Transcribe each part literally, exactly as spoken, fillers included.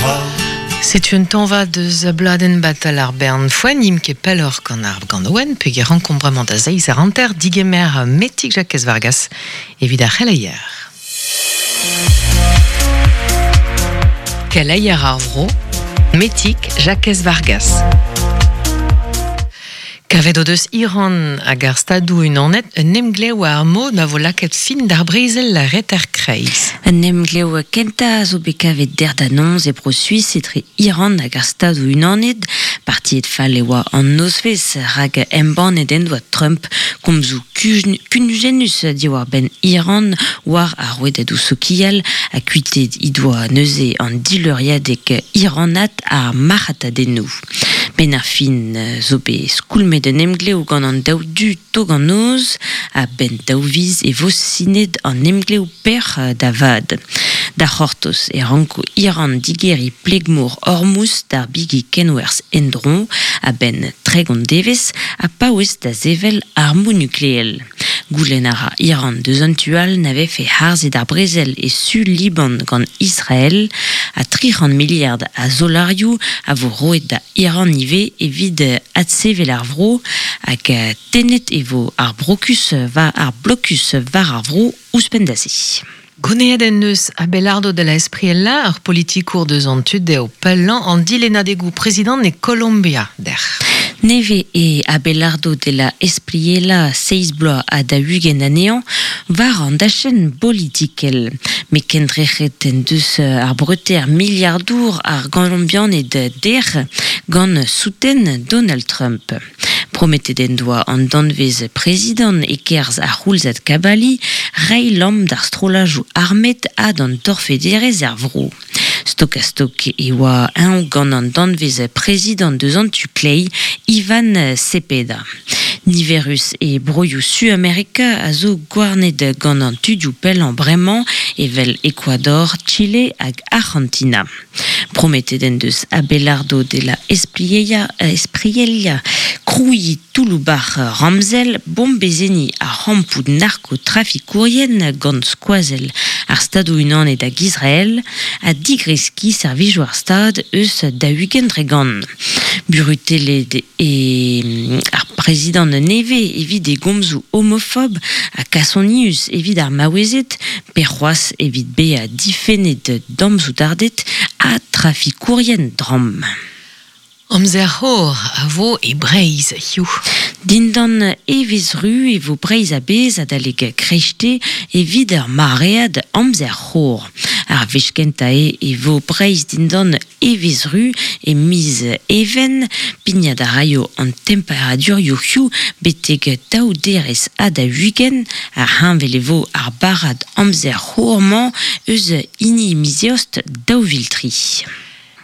crois. Setu un tañva deus bladenn batal ar bern foen im ket pelloc'h gant ar gant pe ge rankombrement da zeiz ar anter digemer Metik Jakez Vargas evit ar c'heleier. Keleier ar vro, Metik Jakez Vargas. Kavet o deus Iran hag ar stadou unanet un emglev ar mod ma vo lakaet fin d'ar brezel la reter kreiz. Un emglev kenta zo bet kavet der da nonz e bro Suisse etre Iran hag ar stadou unanet, partiet fall e oa an nozvez rag embannet en doa Trump komzou kunujenus diwar ben Iran war ar rouedadou sokial a kuitet he doa neuze an dileuriadek Iranat ar marc'hatadennoù. Ben ar fin zo bet skoulmet un emglev gant an daou du tog an noz a ben daou viz e vo sinet an emglev per da vad. Da c'hortoz e ranko Iran digeri plegmour Ormuz d'ar bigi kenwerz endron a ben tregont devez a paouez da zevel armou nukleel. Goulenn a ra Iran deus an tual n'ave fe harzet ar brezel e su Liban gant Israël a tri c'hant miliard a zolarioù a vo roet da Iran ive evit adsevel ar vro hag tenet e vo ar brokus va ar blokus var ar vro ouzhpenn da se. Goneet en eus Abelardo de la Espriella ar politikour deus an tud deo pellañ an dilennadegoù prezident e Colombia der. Neve e Abelardo de la Espriella seiz bloaz ha da ugent anezhañ war an dachenn politikel. Me kendrec'het en deus ar breter miliardour ar Golombianed der gant souten Donald Trump. Prometet en doa an danvez prezident e kerz ar c'houlzad kabali rei lamm d'ar strolajoù armet ha d'an torfederez ar vro. Stok a stok e oa un gant an danvez prezident deus an tu klei Ivan Cepeda. Niverus e broioù Su-Amerika a zo gwarnet gant an tudioù pellañ bremañ evel Ecuador, Chile hag Argentina. Prometet en deus Abelardo de la Espriella, Espriella krouiñ touloubar ramzel bombezeni ar rampoù narkotrafikourien gant skoazel ar stadoù unanet hag Israël ha digreski servijoù ar stad eus da ugent dre gant. Burutellet e ar prezident neve evit e gomzoù homofob ha kasonius evit ar maouezed pe c'hoazh evit bezañ difennet damzoudardet ha trafikourien dramm. Amzer c'hor a vo e Breizh hiziv. Dindan evez ru e vo Breizh a-bezh adalek kreiste evit ar maread amzer c'hor. Ar wech kentañ eo e vo Breizh dindan evez ru e miz even, pignat a raio an temperadurioù hiziv betek daou derez ha da ugent ar heñvel e vo ar barrad amzer c'hor-mañ eus hini miz eost daou vil tri.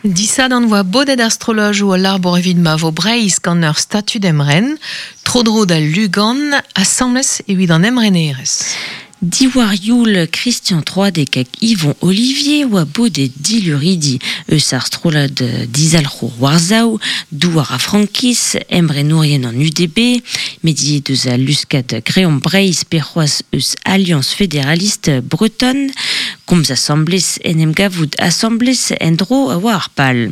Disadan voa bodet ar strolajoù al labour evit ma vo Breizh gant ur statud emren, tro-dro da Lugan, asambles evit an emrenerezh. Diwar youl Christian Troadec hag Yvon Olivier oa bodet diluridi eus ar strolad dizalc'hour Warsaw, douar a Frankiz, emrenourien an U D B, mediet deus a luskad Greomp Breizh pe c'hoazh eus Alliance Fédéraliste Bretonne, komz asambles en em gavout asambles en-dro a oa ar pal.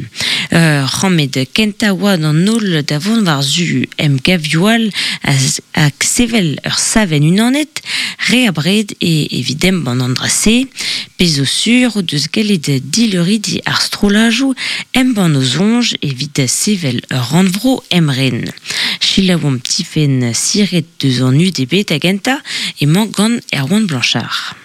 Euh, Rammed kenta oa d'an holl da vont war zu em gavioal hag sevel ur savenn unanet, re a bred e evidem ban an drase, pezo sur o deus gellet dileuridi ar strolajoù embann o soñj evit sevel ur rannvro emren. Selaouomp Tifenn Siret deus an U D B da gentañ emañ gant Erwan Blanchard.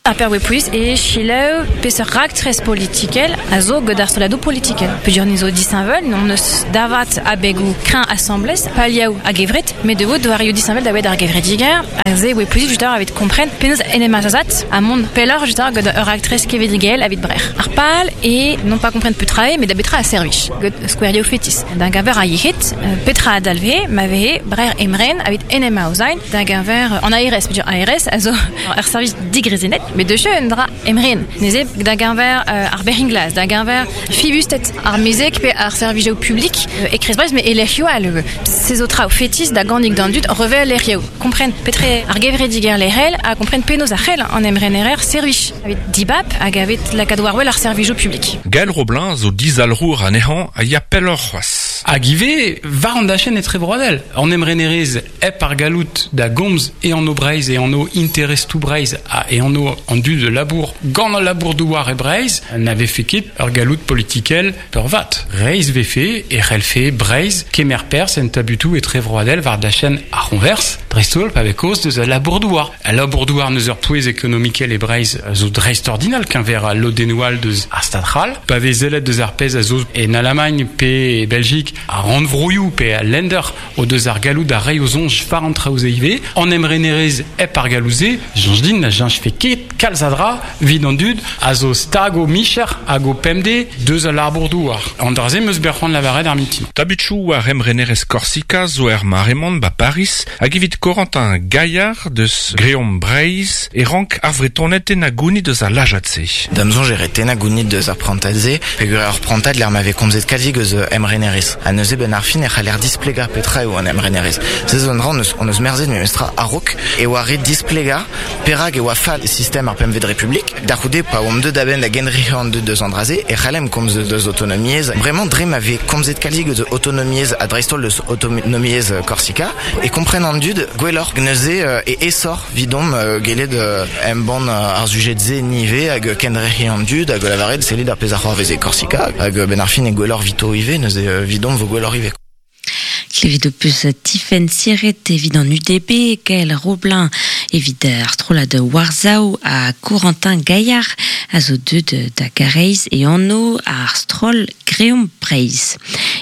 A per plus e Chile peseurt raktres politikel a zo gant ar stroladoù politikel. Peogwir ni zo disheñvel, n'hon eus davat abegoù kreñv asambles, paliaou hag evret, met de vo doarioù disheñvel da wet ar gevrediger, a ze oe plus just evit kompren penaos en em azazat a mont pelloc'h just gant ur raktres kevredigel evit brec'h. Ar pal e non pas kompren petra eo, met da betra a servij, gant skouerioù fetis. D'un gaver a yec'hed, petra a dalve, ma vehe brec'h emren evit en em aozain, d'un gaver en A R S, peogwir A R S a zo ur servij digrezenet. Met de un dra emren. Neze da genver euh, ar beringlas, da genver fibustet ar mezek pe ar servijou publik euh, e krez Breizh, me e lec'hioù al se zo traoù fetis da gannig d'an dud revel lec'hioù. Kompren petre ar gevrediger lec'hel a kompren penaos ar c'hell an emrenerer servij. Avet dibap hag avet lakaat war wel ar servijou publik. Gaël Roblin zo dizalrour anezhañ a ya pelloc'h c'hoazh. Hag ivez war an dachenn etrevroadel. An emrenerez hep ar galout da gomz e an o Breizh e an o interestoù Breizh ha e an o an dud de labour gant al labour douar e Breizh n'ave fait ket ur galout politikel peurvat. Reizh vefe e c'hellfe Breizh kemer perzh en tabutou etrevroadel war dachenn ar c'honvers dreist-holl pa vez kaoz deus al labour douar. Al labour douar neus ur pouez ekonomikel e Breizh zo dreist-ordinal keñver al lodennoù deus ar Stad c'hall. Pa vez zellet deus ar pezh a zo en Allemagne pe e Belgique a rannvroioù pe a Länder o deus ar galout da reiñ o soñj war an traoù se ivez. An emrenerez hep ar galoù-se, soñj din na jañch fe ket kalz a dra evit an dud a zo stag o micher hag o pemde deus al labour douar. An dra-se 'm eus bet c'hoant lavaret ar mintin. Tabutoù war emrenerez Korsika zo er mare-mañ ba Paris hag evit Corentin Gaillard deus Greomp Breizh e rank ar Vretoned tennañ gounid deus al lajad-se. Da'm soñj e ret tennañ gounid deus ar prantad-se, peogwir ar prantad lec'h ma vez komzet kalzik eus emrenerez. Ha neuze ben ar fin e c'haller displegañ petra eo an emrenerez. Se zo un dra on eus, on eus merzet memestra a-raok e oa ret displegañ perak e oa fall sistem ar pempvet Republik. Da c'houde pa oamp deuet a-benn da genderc'hel an dud deus an dra-se e c'hallemp komz deus autonomiezh. Bremañ dre ma vez komzet kalzik eus autonomiezh ha dreist-holl deus autonomiezh Korsika e kompren an dud gwelloc'h neuze e aesoc'h 'vidomp gellet embann ar sujed-se nive hag kenderc'hel an dud hag lavaret sellit ar pezh a c'hoarvez e Korsika hag ben ar fin e gwelloc'h 'vito ivez neuze 'vidomp vo gwelloc'h ivez. Klevet ho peus Tifenn Siret evit an U D B, Gaël Roblin evit ar strollad War-Zao ha Corentin Gaillard a zo deuet da Gareiz e anv ar stroll Greomp Breizh.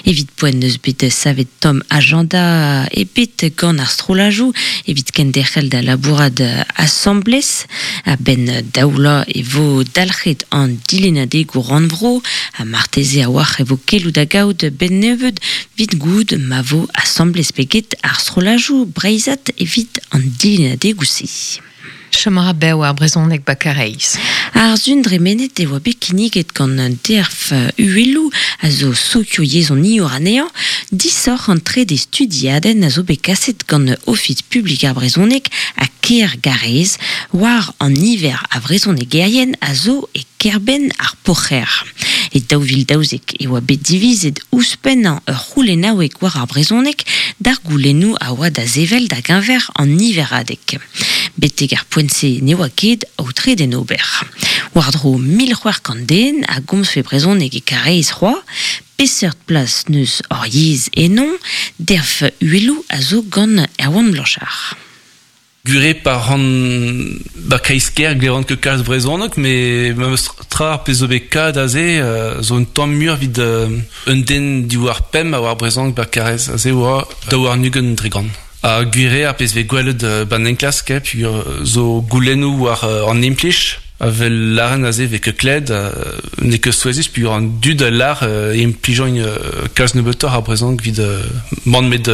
Evit poent neus bet savet tamm agenda ebet gant ar strollajoù evit kenderc'hel da labourat asambles a-benn daoula e vo dalc'het an dilennadegoù rannvro ha marteze a-walc'h e vo keloù da gaout ben nebeud 'vit goût ma vo asambles pe get ar strollajoù breizhat evit an dilennadegoù-se. Chom a ra bev ar brezhoneg ba Karaez. Ar sun dremenet e oa bet kinniget gant an derf uheloù a zo sokioyezhoniour anezhañ, disoc'h an trede studiadenn a zo bet kaset gant Ofis publik ar brezhoneg ha Kêr Garez war an niver a vrezhonegerien a zo e kêr-benn ar Poc'hêr. E daou vil daouzek e oa bet divizet ouzhpennañ ur c'houlennaoueg war ar brezhoneg d'ar goulennoù a oa da sevel da geñver an niveradeg. Betek ar poent-se ne oa ket aotret en ober. War-dro mil c'hwec'h kant den a gomzfe brezhoneg e Karaez c'hoazh, peseurt plas neus hor yezh ennon, derf uheloù a zo gant Erwan Blanchard. Gure par an ba kreiz-kêr glevan ket kalz brezhoneg, met memes tra ar pezh zo bet kad aze zo un tamm muioc'h evit un den diwar pemp a oar brezhoneg ba Karaez aze oa daou warn-ugent dre gant. Ha gwir ar pezh vez gwelet ban enklask, peogwir zo goulennoù war an implij, avel lâren aze vez ket kled, n'eo ket souezhus peogwir an dud a lâr implijañ kalz nebeutoc'h ar brezhoneg evit mann met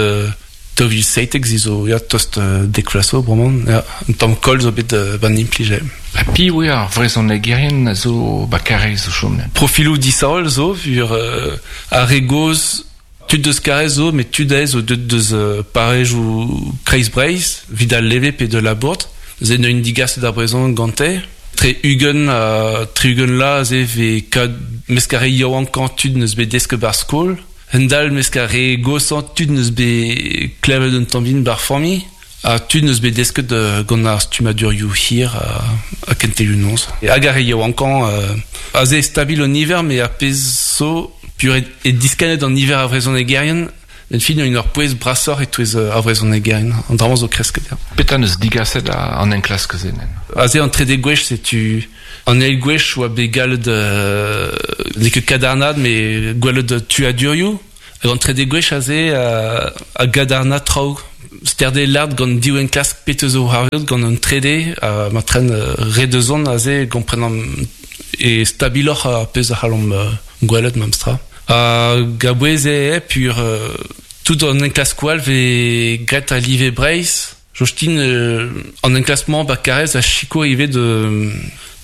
daou vil seitek se zo ya tost dek vloaz zo bremañ, ya, un tamm koll zo bet ban implij. Ha piv eo ar vrezhonegerien a zo ba Karaez o chom? Profiloù disheñvel zo, peogwir ar re gozh tud deus Karaez zo, met tud aes zo deut deus parrezioù Kreiz Breizh, evit al leve pe de Labourd. Ze n'eus digaset ar brezhoneg gante. Tre ugent ha tri-ugent la ze vez kad mesk ar re yaouankañ tud neus bet desket bar skol. Hendal mesk ar re goshañ tud neus bet klevet un tamm bihan bar familh. Ha tud neus bet desket gant ar stummadurioù hir ha kentelioù noz. Hag ar re yaouankañ aze stabil an niver, met ar pezh zo peogwir e diskannet an niver a vrezhonegerien, en fin un ur pouez brasoc'h e-touez ar vrezhonegerien. An dra-mañ zo kresket. Petra neus digaset an enklask-se nen? Aze an trede gwech, setu an eil gwech oa bet gallet n'eo ket kadarnaat, met gwelet tuadurioù. Hag an trede gwech aze a gadarna traoù. Sterde lard gant div enklask pet zo c'hoarvezet gant an trede, ma tren re deus on aze kompren an e stabiloc'h ar pezh a c'hallomp gwelet memestra. Hag a-bouez eo peogwir tout an enklaskoù all vez graet a live Breizh. Jostin euh, an enklaskmañ ba Karaez a sikour ivez de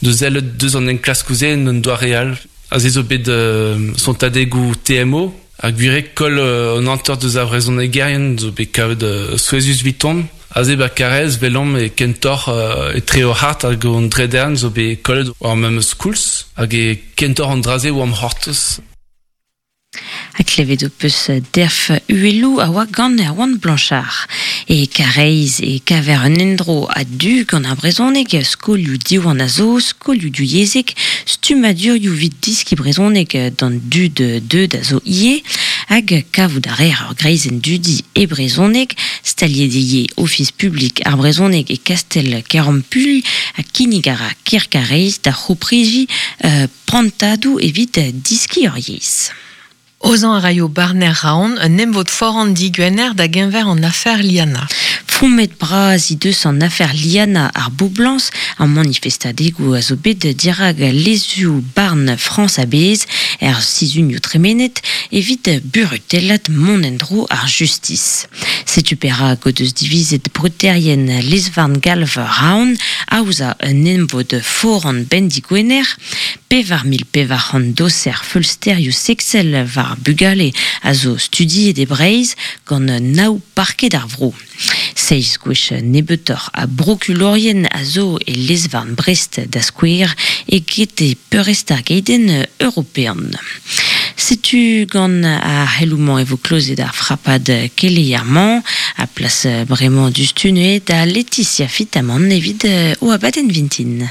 de zel deus an enklaskoù-se en doa real. A ze zo bet euh, sontadegoù T M O, ar gwire kol euh, an hanter deus ar vrezhonegerien zo bet kavet euh, souezhus viton. Aze ba Karaez velomp e kentor euh, etre o hart hag an dredern zo bet kollet war memes koulz hag e kentor an draze oa am c'hortoz. A klevet o peus derf uelou a oa gant Erwan Blanchard. E Karaez e kaver un endro a du gant ar brezhoneg, skolioù diwan a zo, skolioù du yezek, stumadurioù vid diski brezhoneg d'an dud deud a zo ie, hag kavout a reer ur greizenn dudi e brezhoneg, staliet eo ofis publik ar brezhoneg e Kastel Kerampul, ha kinnig a ra Ker Karaez da c'houpriji euh, prantadoù evit diski ur yezh. Ozan a raio barner raon, un emvod foran digwener da genver an afer Liana. Fromet braz i deus an afer Liana ar Boublans, an manifestadegou a zo bet dirag lezu barn Frans a-bez, er sizunioù tremenet, evit burutellat mont endro ar justice. Setu perak o deus divizet bruterien lezvarn galv raon, aoza un emvod foran ben digwener, pevar mil pevar c'hant doser feulsterioù sexel war bugale a zo studiet e Breizh gant naou parket ar vro. Seiz gwech nebeutoc'h a brokulorien a zo e lezvarn Brest da skouer eget e peurrest ar geidenn european. Setu gant ar c'heloù-mañ e vo klozet ar frapad keleier-mañ, a plas bremañ dustune da Laetitia Fitamant evit o abadenn vintin.